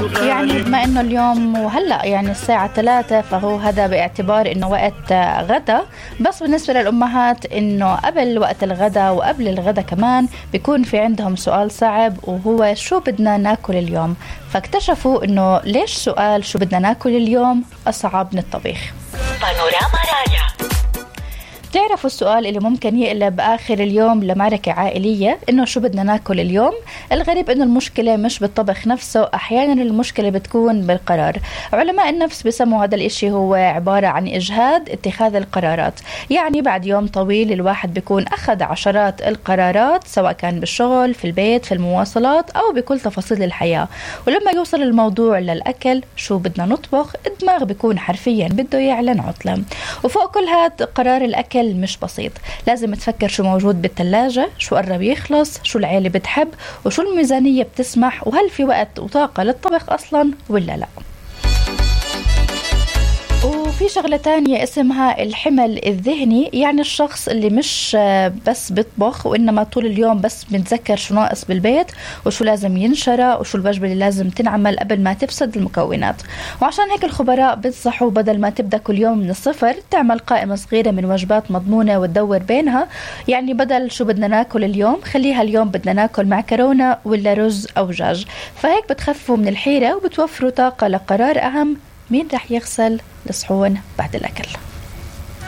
يعني بما انه اليوم وهلأ يعني الساعة 3 فهو هذا باعتبار انه وقت غدا. بس بالنسبة للأمهات انه قبل وقت الغدا وقبل الغدا كمان بيكون في عندهم سؤال صعب، وهو شو بدنا ناكل اليوم. فاكتشفوا انه ليش سؤال شو بدنا ناكل اليوم أصعب من الطبيخ. بانوراما راديو. تعرفوا السؤال اللي ممكن يقلب آخر اليوم لمعركة عائلية، إنه شو بدنا ناكل اليوم؟ الغريب إنه المشكلة مش بالطبخ نفسه، أحيانا المشكلة بتكون بالقرار. علماء النفس بيسموا هذا الإشي هو عبارة عن إجهاد اتخاذ القرارات. يعني بعد يوم طويل الواحد بيكون أخذ عشرات القرارات، سواء كان بالشغل، في البيت، في المواصلات، أو بكل تفاصيل الحياة. ولما يوصل الموضوع للأكل، شو بدنا نطبخ، الدماغ بيكون حرفيا بده يعلن عطلة. وفوق كل هذا قرار الأكل مش بسيط، لازم تفكر شو موجود بالثلاجة، شو قرب يخلص، شو العيلة بتحب، وشو الميزانية بتسمح، وهل في وقت وطاقة للطبخ أصلا ولا لا. وفي شغلة تانية اسمها الحمل الذهني، يعني الشخص اللي مش بس بيطبخ وإنما طول اليوم بس بنتذكر شو ناقص بالبيت وشو لازم ينشرى وشو الوجبة اللي لازم تنعمل قبل ما تفسد المكونات. وعشان هيك الخبراء بنصحوا بدل ما تبدأ كل يوم من الصفر، تعمل قائمة صغيرة من وجبات مضمونة وتدور بينها. يعني بدل شو بدنا ناكل اليوم، خليها اليوم بدنا ناكل معكرونة ولا رز أو دجاج. فهيك بتخففوا من الحيرة وبتوفروا طاقة لقرار أهم: مين رح يغسل الصحون بعد الأكل.